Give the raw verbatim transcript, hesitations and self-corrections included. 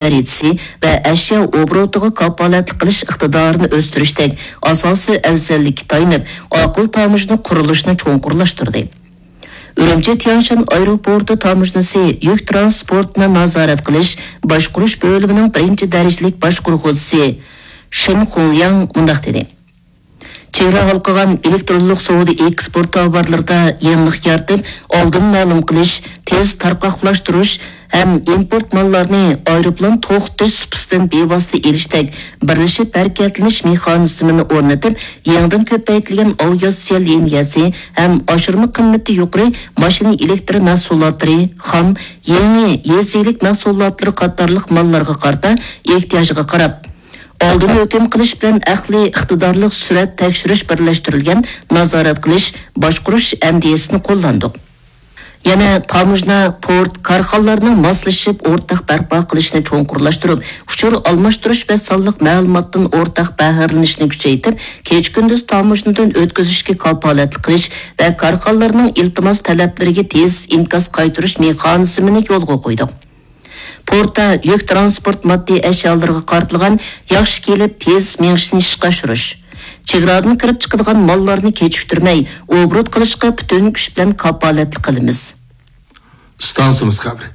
دەرىجىسى ۋە ئەشيا ئوبوروتىغا كاپالەتلىك قىلىش ئىقتىدارىنى ئۆستۈرۈشتەك ئاساسىي ئەۋزەللىككە تايىنىپ، ئاقىل تاموژنا قۇرۇلۇشىنى چوڭقۇرلاشتۇردى. ئۈرۈمچى تيەنشان ئايروپورتى تاموژنىسى يۈك تىرانسپورتىنى نازارەت قىلىش باشقۇرۇش بۆلۈمىنىڭ بىرىنچى دەرىجىلىك باشقۇرغۇچىسى شېن خۇڭلياڭ مۇنداق دېدى: چېگرا ھالقىغان ئېلېكترونلۇق سودا ئېكسپورت تاۋارلىرىدا يېڭىلىق يارىتىپ، ئالدىن مەلۇم قىلىش، تېز تارقاقلاشتۇرۇش ھەم ئىمپورت ماللارنى ئايروپىلان توختىتىش سۇپىسىدىن بىۋاسىتە ئېلىشتەك بىرلىشىپ ھەرىكەتلىنىش مېخانىزمىنى ئورنىتىپ، يېڭىدىن كۆپەيتىلگەن ئاۋىئاتسىيە لىنىيەسى ھەم ئاشۇرما قىممىتى يۇقىرى ماشىنا ئېلېكتر مەھسۇلاتلىرى، خام، يېڭى يېزا ئىگىلىك مەھسۇلاتلىرى قاتارلىق ماللارغا قارىتا ئېھتىياجغا قاراپ، ئالدىن ھۆكۈم قىلىش بىلەن ئەقلىي ئىقتىدارلىق سۈرئەت تەكشۈرۈش بىرلەشتۈرۈلگەن نازارەت قىلىش، باشقۇرۇش ئەندىزىسىنى قوللاندۇق. يەنە تاموژنا، پورت، كارخانىلارنىڭ ماسلىشىپ ئورتاق بەرپا قىلىشنى چوڭقۇرلاشتۇرۇپ، ئۇچۇر ئالماشتۇرۇش ۋە سانلىق مەلۇماتتىن ئورتاق بەھرىلىنىشنى كۈچەيتىپ، كېچە-كۈندۈز تاموژنىدىن ئۆتكۈزۈشكە كاپالەتلىك قىلىش ۋە كارخانىلارنىڭ ئىلتىماس تەلەپلىرىگە تېز ئىنكاس قايتۇرۇش مېخانىزمىنى يولغا قويدۇق. پورتتا يۈك تىرانسپورت ماددىي ئەشيالىرىغا قارىتىلغان ياخشى كېلىپ تېز مېڭىشنى ئىشقا ئاشۇرۇش، چېگرادىن كىرىپ چىقىدىغان ماللارنى كېچىكتۈرمەي ئوبوروت قىلىشقا پۈتۈن كۈچ بىلەن كاپالەتلىك قىلىمىز. ئىستانسىمىز خەۋىرى.